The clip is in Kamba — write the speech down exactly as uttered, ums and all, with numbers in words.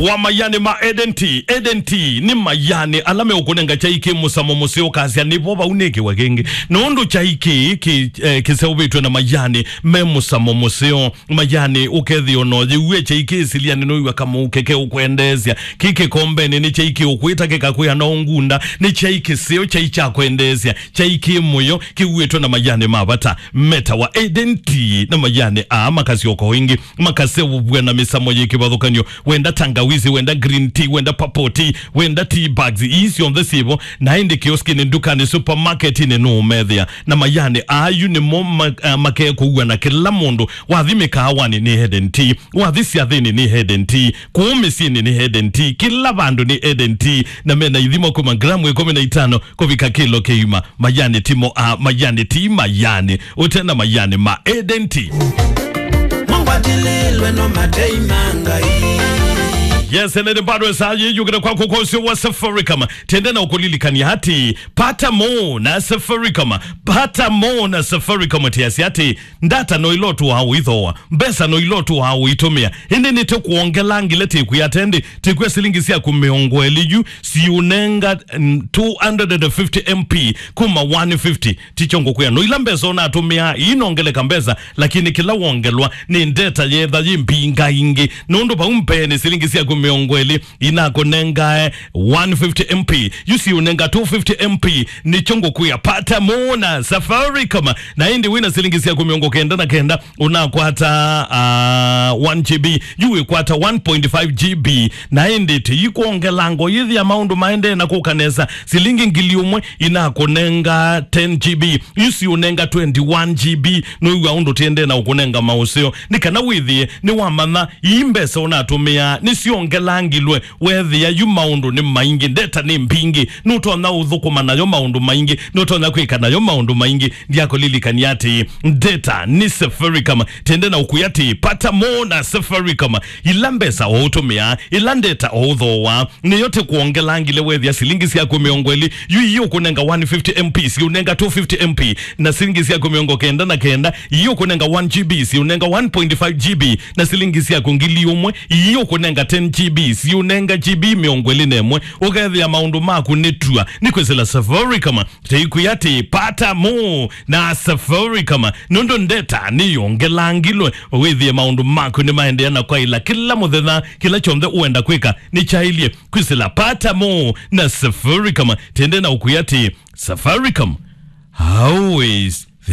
wa mayanĩ ma Eden Tea. Eden Tea nĩ mayanĩ ala meũkũnenga kyai kĩ mũsamo mũseo, ũkasya nĩvo vau nĩkĩwe kĩngĩ. Nũndũ kyai kĩĩ kĩ, eh, kĩseũvĩtw'e na mayanĩ me mũsamo mũseo. Mayanĩ ũkethĩa ona ũyĩw'e kyai kĩ silianĩ nũiw'a kamũuke keũkwendeesya. Kĩ kĩkombenĩ nĩ kyai kĩũkwĩta kĩkakwĩa no ngunda. Nĩ kyai kĩseo, kyai kya kwendeesya, kyai kĩ mũyo, kĩuĩtwe na mayanĩ ma vata. Metawa Eden Tea na mayanĩ aa makasyoka o ĩngĩ, makaseũvw'a na mĩsamo yĩ kĩvathũkany'o. Wenda tangawizi, wenda green tea, wenda purple tea, wenda tea bags, ii syonthe syĩvo. Na ĩndĩ kioskinĩ, ndukanĩ, supermarketinĩ nũũmethĩa. Na mayanĩ aa yu nĩmo ma, ah, makekũua na kĩla mũndũ. Wathi mĩkaawanĩ nĩ Eden Tea, wathi syathĩnĩ nĩ Eden Tea, kũũ mĩsyĩnĩ nĩ Eden Tea, kĩla vandũ nĩ Eden Tea. Na mena ithimo kuma gramu ĩkũmi na itano kũvika kĩlo kĩima. Mayanĩ ti mo a, mayanĩ ti mayanĩ. Ũte na mayanĩ ma Eden Tea. Mongwatililwe no matei ma Ngai. Yes, ene nĩ bado saa yĩ yũkĩte kwa kũkosyo wa Safaricom. Tende na ũkũlilikania atĩ, pata mo na Safaricom. Pata mo na Safaricom tiasi atĩ, ndata no ila ũtũaa ũithooa, mbesa no ila ũtũaa ũitũmĩa, ĩndĩ nĩtũkwongela ngile tĩkwĩa tendi, tĩkwĩa silingi syaku mĩongo ĩlĩ yu siũnenga, mm, two hundred fifty M P kuma one fifty. Tikyo ngũkwĩa no ila mbesa ũnatũmĩaa iinongeleka mbesa, lakini kĩla wongelwa nĩ ndeta yetha yĩ mbinga ingĩ. Nũndũ vau mbeenĩ silingi syaku mĩongo ĩlĩ inakũnengae one fifty M P, yu siũnenga two fifty M P. Nĩkyo ngũkwĩa, pata mo na Safaricom. Na ĩndĩ wĩna silingi syaku mĩongo kenda na kenda, ũnakwata, ah, one G B, yu wĩkwata one point five G B. Na ĩndĩ tĩikwongela ngo yĩthĩa maũndũ maendee na kũka nesa, silingi ngili ũmwe inakũnenga ten G B, yu siũnenga twenty-one G B. Nũiw'a ũndũ tĩendee na ũkũnenga maũseo, nĩ kana wĩthĩe nĩwamanya ii mbesa ũnatũmĩaa nĩsyongelangilwe. Wethĩa yu maũndũ nĩ maingĩ, ndeta nĩ mbingĩ, nũtonya ũthũkũma nayo maũndũ maingĩ, nũtonya kwĩka nayo maũndũ maingĩ. Ndiakũlilikania atĩ ndeta nĩ Safaricom. Tende na ũkwĩa atĩ pata mo na Safaricom. Ila mbesa o ũtũmĩaa, ila ndeta o ũthooa, nĩyo tĩkwongela ngile wethĩa silingi syaku mĩongo ĩlĩ, yu ii ũkũnenga one fifty M P, siũnenga two fifty M P, na silingi syaku mĩongo kenda na kenda, ii ũkũnenga one G B, siũnenga one point five G B, na silingi syaku ngili ũmwe, ii ũkũnenga ten G B, siũnenga G B mĩongo ĩlĩ na ĩmwe, ũkethĩa maũndũ maku nĩ tua, nĩ kwĩsĩla Safaricom. Tĩikwĩa atĩ pata mo na Safaricom, nũndũ ndeta nĩyongelangilwe, wĩthĩe maũndũ maku nĩmaendeea na kwaĩla kĩla mũthenya, kĩla kyonthe ũenda kwĩka nĩkyaĩlye kwĩsĩla pata mo na Safaricom. Tende na ũkwĩa atĩ Safaricom always